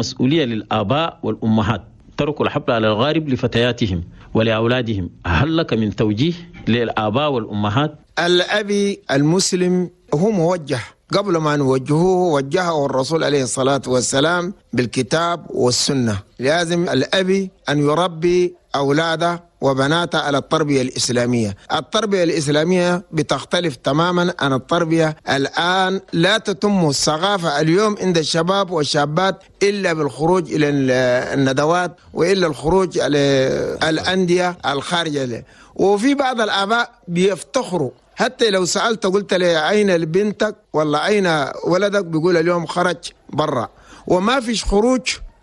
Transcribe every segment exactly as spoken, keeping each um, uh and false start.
مسؤولية للآباء والأمهات، تركوا الحبل على الغارب لفتياتهم ولأولادهم. هل لك من توجيه للآباء والأمهات؟ الأبي المسلم هو موجه، قبل ما نوجهه وجهه الرسول عليه الصلاة والسلام بالكتاب والسنة. لازم الأبي أن يربي أولاده وبناته على التربية الإسلامية. التربية الإسلامية بتختلف تماما عن التربية الآن. لا تتم الثقافة اليوم عند الشباب والشابات إلا بالخروج إلى الندوات وإلا الخروج على الأندية الخارجية. وفي بعض الآباء بيفتخروا، حتى لو سألت قلت لي أين بنتك ولا أين ولدك، بيقول اليوم خرج برا. وما فيش خروج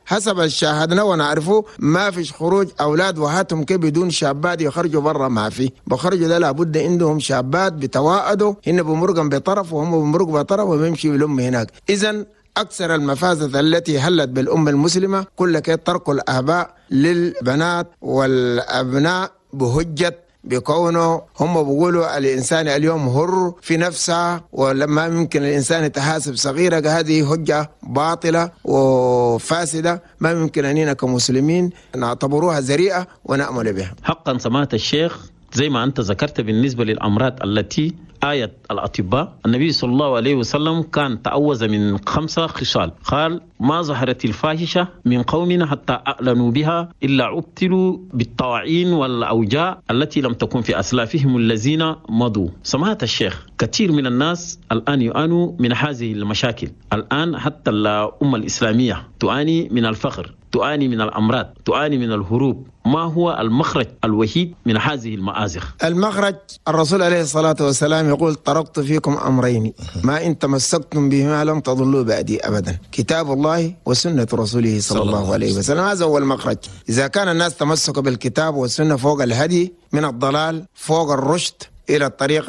حسب شاهدنا ونعرفه، ما فيش خروج أولاد وهاتهم كي بدون شابات يخرجوا برا، ما في بخرجوا ده لابد عندهم شابات بتواعدوا، هن بمرقا بطرف وهم بمرق بطرف وبيمشي بالأم هناك. إذن أكثر المفاسد التي هلت بالأمة المسلمة كل كي ترك الآباء للبنات والأبناء بهجة بكونه هم بيقولوا الإنسان اليوم هر في نفسه ولما يمكن الإنسان يتحاسب صغيرة. هذه حجة باطلة وفاسدة، ما يمكن أننا كمسلمين نعتبروها ذريعة ونأمل بها. حقا سماحة الشيخ، زي ما أنت ذكرت بالنسبة للأمراض التي آية الأطباء، النبي صلى الله عليه وسلم كان تعوذ من خمسة خصال، قال ما ظهرت الفاحشة من قومنا حتى أعلنوا بها إلا عبتلوا بالطواعين والأوجاع التي لم تكن في أسلافهم الذين مضوا. سماحة الشيخ، كثير من الناس الآن يعانوا من هذه المشاكل، الآن حتى الأمة الإسلامية تعاني من الفقر، تعاني من الأمراض، تعاني من الهروب. ما هو المخرج الوحيد من هذه المآزق؟ المخرج الرسول عليه الصلاة والسلام يقول تركت فيكم أمرين ما إن تمسكتم بهما لم تضلوا بعدي أبدا، كتاب الله وسنة رسوله صلى الله عليه وسلم. هذا هو المخرج. إذا كان الناس تمسكوا بالكتاب والسنة فوق الهدي من الضلال، فوق الرشد إلى الطريق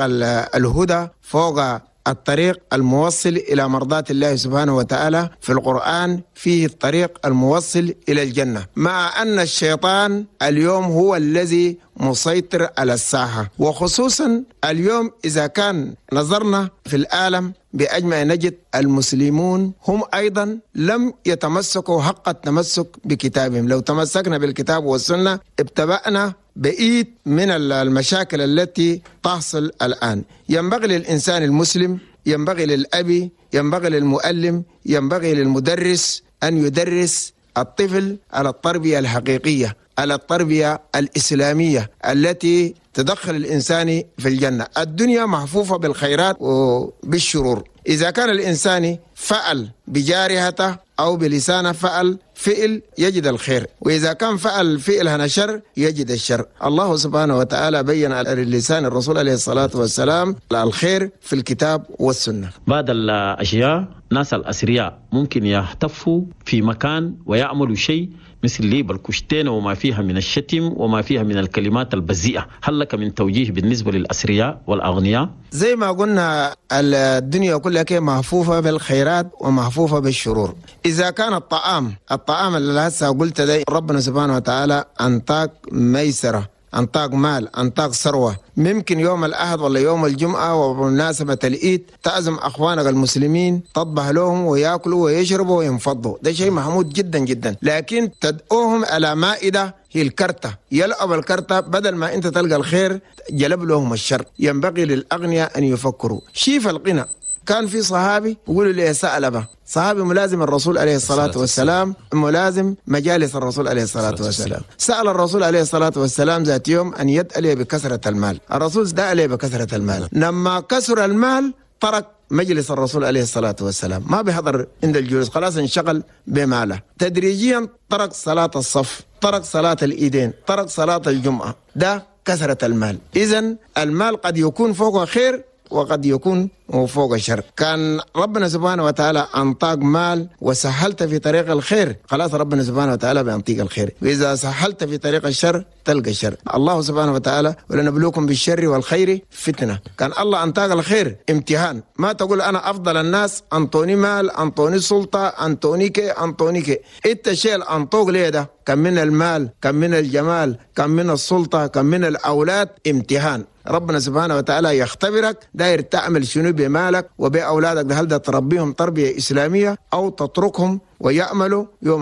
الهدى، فوق الطريق الموصل إلى مرضاة الله سبحانه وتعالى، في القرآن فيه الطريق الموصل إلى الجنة. مع أن الشيطان اليوم هو الذي مسيطر على الساحة، وخصوصا اليوم إذا كان نظرنا في العالم بأجمع نجد المسلمون هم أيضا لم يتمسكوا حق التمسك بكتابهم. لو تمسكنا بالكتاب والسنة ابتبأنا بعيد من المشاكل التي تحصل الآن. ينبغي للإنسان المسلم، ينبغي للأبي، ينبغي للمؤلم، ينبغي للمدرس أن يدرس الطفل على التربية الحقيقية، على التربية الإسلامية التي تدخل الإنسان في الجنة. الدنيا محفوفة بالخيرات وبالشرور. إذا كان الإنسان فعل بجارحته أو بلسانه فعل فعل يجد الخير، وإذا كان فعل فعل هنا شر يجد الشر. الله سبحانه وتعالى بين على لسان الرسول عليه الصلاة والسلام الخير في الكتاب والسنة. بعض الأشياء ناس الأثرياء ممكن يحتفوا في مكان ويعملوا شيء مثل ليب الكشتين وما فيها من الشتم وما فيها من الكلمات البذيئة. هل لك من توجيه بالنسبة للأثرياء والأغنياء؟ زي ما قلنا الدنيا كلها محفوفة بالخيرات ومحفوفة بالشرور. إذا كان الطعام الطعام اللي هسه قلت ده ربنا سبحانه وتعالى أنطاق ميسرة، أنطاق مال، أنطاق ثروة، ممكن يوم الأحد ولا يوم الجمعة وبمناسبة العيد تعزم أخوانك المسلمين، تطبخ لهم ويأكلوا ويشربوا وينفضوا، ده شيء محمود جدا جدا. لكن تدعوهم على مائدة هي الكرتة، يلعب الكرتة، بدل ما أنت تلقى الخير جلب لهم الشر. ينبغي للأغنياء أن يفكروا. شيف الغنى، كان في صحابي يقولوا لي سألبة، صحابي ملازم الرسول عليه الصلاة والسلام، ملازم مجالس الرسول عليه الصلاة والسلام، سأل الرسول عليه الصلاة والسلام ذات يوم أن يدعي بكثرة المال. الرسول دعا بكثرة المال، لما كثر المال ترك مجلس الرسول عليه الصلاة والسلام، ما بيحضر عند الجلوس، خلاص انشغل بماله. تدريجيا ترك صلاة الصف، ترك صلاة الإيدين، ترك صلاة الجمعة. ده كثرة المال. إذن المال قد يكون فوق خير وقد يكون فوق الشر. كان ربنا سبحانه وتعالى أنطاق مال وسهلت في طريق الخير، خلاص ربنا سبحانه وتعالى بينطيق الخير، وإذا سهلت في طريق الشر تلقى الشر. الله سبحانه وتعالى ولنبلوكم بالشر والخير فتنة. كان الله أنطاق الخير امتحان، ما تقول أنا أفضل الناس، أنطوني مال، أنطوني سلطة، أنطوني كي أنطوني كي. إنت شيء أنطوق ليه ده؟ كم من المال، كم من الجمال، كم من السلطة، كم من الأولاد، امتحان. ربنا سبحانه وتعالى يختبرك داير تعمل شنو بمالك وبأولادك، هل ده تربيهم تربية إسلامية أو تتركهم ويأملوا يوم